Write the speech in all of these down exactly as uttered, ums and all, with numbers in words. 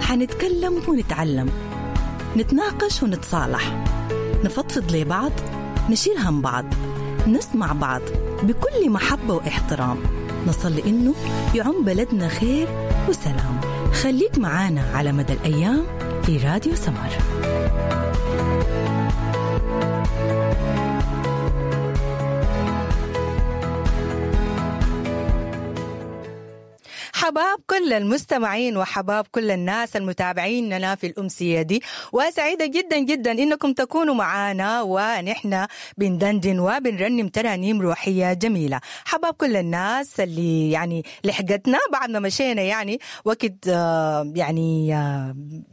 حنتكلم ونتعلم، نتناقش ونتصالح، نفضفض لبعض، نشيل هم بعض، نسمع بعض بكل محبة واحترام، نصلي إنه يعم بلدنا خير وسلام. خليك معانا على مدى الأيام في راديو سمر. حباب كل المستمعين وحباب كل الناس المتابعين لنا في الأمسية دي، وسعيدة جدا جدا إنكم تكونوا معانا ونحن بندندن وبنرنم ترانيم روحية جميلة. حباب كل الناس اللي يعني لحقتنا بعد ما مشينا يعني وقت يعني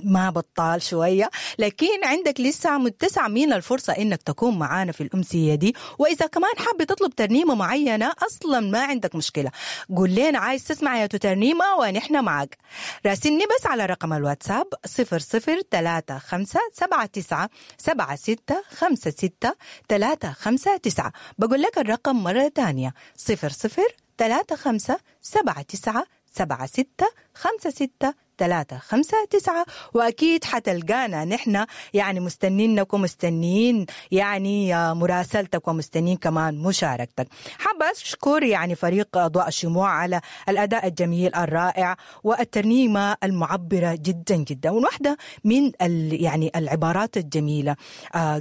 ما بطال شوية، لكن عندك لسه متسع من الفرصة إنك تكون معانا في الأمسية دي. وإذا كمان حابة تطلب ترنيمة معينة أصلا ما عندك مشكلة، قول لنا عايز تسمع يا ترنيمة ونحن معك. راسلني بس على رقم الواتساب صفر صفر ثلاثة خمسة سبعة تسعة سبعة ستة خمسة ستة ثلاثة خمسة تسعة. بقول لك الرقم مرة تانية صفر صفر ثلاثة خمسة سبعة تسعة سبعة ستة خمسة ستة ثلاثة خمسة تسعة. وأكيد حتلقانا نحن يعني مستنينك ومستنين يعني مراسلتك ومستنين كمان مشاركتك. حابة أشكر يعني فريق أضواء الشموع على الأداء الجميل الرائع والترنيمة المعبرة جدا جدا. وواحدة من يعني العبارات الجميلة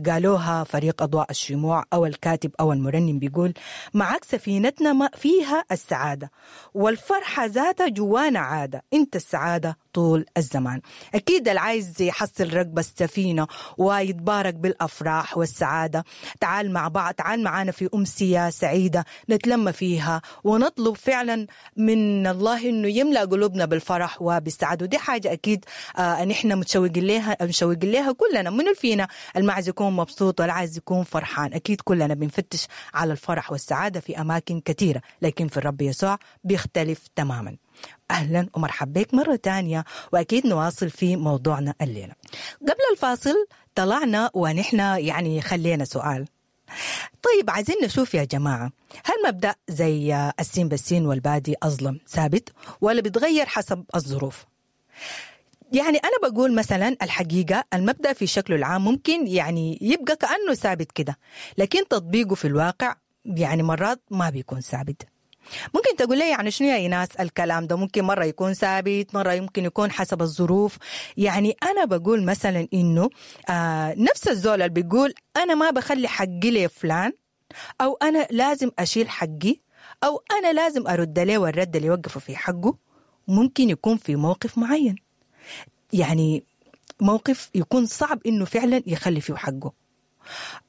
قالوها فريق أضواء الشموع أو الكاتب أو المرنم، بيقول معك سفينتنا ما فيها السعادة والفرحة ذاتها جوانا عادة، أنت السعادة طول الزمان. أكيد العايز يحصل ركبة السفينة ويتبارك بالأفراح والسعادة، تعال مع بعض، تعال معانا في أمسية سعيدة نتلم فيها ونطلب فعلا من الله إنه يملأ قلوبنا بالفرح وبالسعادة. ودي حاجة أكيد آه نحن متشوقين لها، متشوقين لها كلنا. من فينا المعز يكون مبسوط والعايز يكون فرحان؟ أكيد كلنا بنفتش على الفرح والسعادة في أماكن كثيرة، لكن في الرب يسوع بيختلف تماما. أهلا ومرحبا بك مرة تانية، وأكيد نواصل في موضوعنا الليلة. قبل الفاصل طلعنا ونحن يعني خلينا سؤال. طيب عايزين نشوف يا جماعة، هل مبدأ زي السين بالسين والبادي أظلم ثابت ولا بيتغير حسب الظروف؟ يعني أنا بقول مثلا الحقيقة المبدأ في شكله العام ممكن يعني يبقى كأنه ثابت كده، لكن تطبيقه في الواقع يعني مرات ما بيكون ثابت. ممكن تقول لي يعني شنو يا إيناس الكلام ده؟ ممكن مرة يكون ثابت، مرة يمكن يكون حسب الظروف. يعني أنا بقول مثلا إنه آه نفس الزول اللي بيقول أنا ما بخلي حقي لفلان، أو أنا لازم أشيل حقي، أو أنا لازم أرد له والرد اللي يوقفه في حقه، ممكن يكون في موقف معين، يعني موقف يكون صعب إنه فعلا يخلي فيه حقه،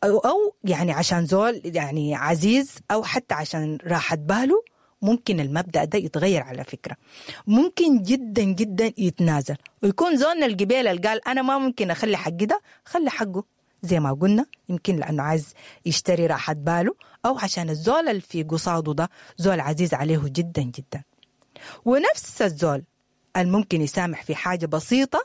أو, أو يعني عشان زول يعني عزيز، أو حتى عشان راحة باله، ممكن المبدأ ده يتغير على فكرة. ممكن جدا جدا يتنازل ويكون زولنا القبيلة اللي قال أنا ما ممكن أخلي حقي ده، خلي حقه زي ما قلنا، يمكن لأنه عايز يشتري راحة باله، أو عشان الزول اللي في قصاده ده زول عزيز عليه جدا جدا. ونفس الزول الممكن يسامح في حاجة بسيطة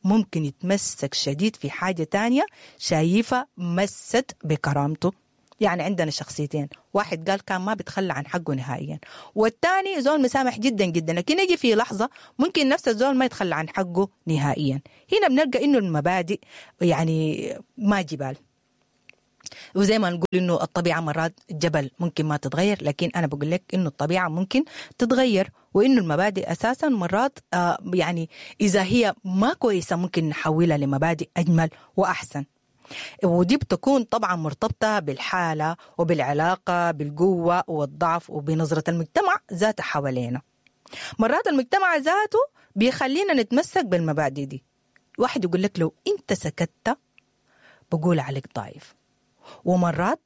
ممكن يتمسك شديد في حاجة تانية شايفة مست بكرامته. يعني عندنا شخصيتين، واحد قال كان ما بيتخلى عن حقه نهائيا، والتاني زول مسامح جدا جدا، لكن يجي في لحظة ممكن نفس الزول ما يتخلى عن حقه نهائيا. هنا بنلقى إنه المبادئ يعني ما جبال، وزي ما نقول إنه الطبيعة مرات جبل ممكن ما تتغير، لكن أنا بقول لك إنه الطبيعة ممكن تتغير، وإنه المبادئ أساسا مرات آه يعني إذا هي ما كويسة ممكن نحولها لمبادئ أجمل وأحسن. ودي بتكون طبعا مرتبطة بالحالة وبالعلاقة بالقوة والضعف وبنظرة المجتمع ذاته حوالينا. مرات المجتمع ذاته بيخلينا نتمسك بالمبادئ دي. واحد يقول لك لو أنت سكت بقول عليك ضعيف، ومرات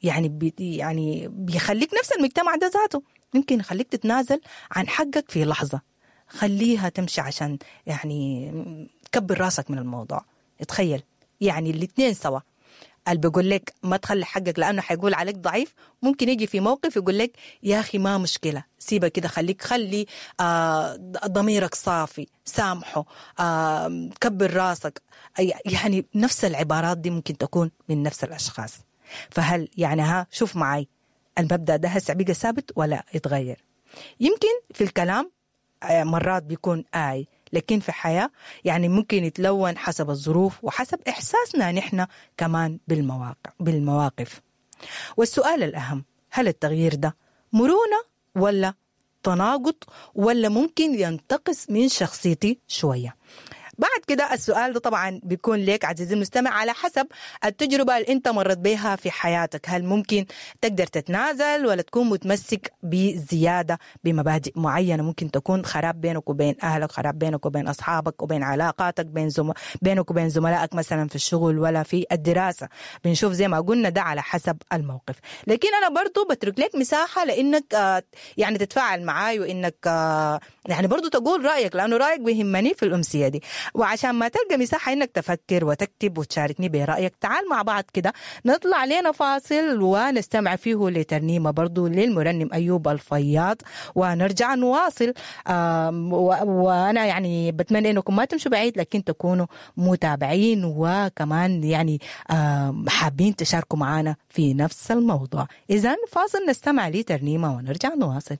يعني بي يعني بيخليك نفس المجتمع ده ذاته ممكن يخليك تتنازل عن حقك في لحظة، خليها تمشي عشان يعني تكبر راسك من الموضوع. تخيل يعني الاثنين سوا، اللي بيقول لك ما تخلي حقك لأنه حيقول عليك ضعيف، ممكن يجي في موقف يقول لك يا أخي ما مشكلة، سيبه كده، خليك خلي آه ضميرك صافي، سامحه، آه كبر راسك. يعني نفس العبارات دي ممكن تكون من نفس الأشخاص. فهل يعني ها شوف معي المبدأ ده هسه بقى ثابت ولا يتغير؟ يمكن في الكلام مرات بيكون آي، لكن في حياة يعني ممكن يتلون حسب الظروف وحسب إحساسنا نحن كمان بالمواقع بالمواقف. والسؤال الأهم، هل التغيير ده مرونة ولا تناقض ولا ممكن ينتقص من شخصيتي شوية؟ بعد كده السؤال ده طبعا بيكون لك عزيزي المستمع على حسب التجربة اللي انت مرت بها في حياتك. هل ممكن تقدر تتنازل ولا تكون متمسك بزيادة بمبادئ معينة ممكن تكون خراب بينك وبين أهلك، خراب بينك وبين أصحابك وبين علاقاتك، بين زم... بينك وبين زملائك مثلا في الشغل ولا في الدراسة. بنشوف زي ما قلنا ده على حسب الموقف. لكن أنا برضو بترك لك مساحة لأنك آه، يعني تتفاعل معاي وإنك آه، يعني برضو تقول رأيك، لأنه رأيك بيهمني في الأمسية دي. وعشان ما تلقى مساحة إنك تفكر وتكتب وتشاركني برأيك، تعال مع بعض كده نطلع لنا فاصل ونستمع فيه لترنيمة برضو للمرنم أيوب الفياض ونرجع نواصل. آم، و- وأنا يعني بتمنى إنكم ما تمشوا بعيد، لكن تكونوا متابعين وكمان يعني آم، حابين تشاركوا معنا في نفس الموضوع. إذا فاصل نستمع لترنيمة ونرجع نواصل.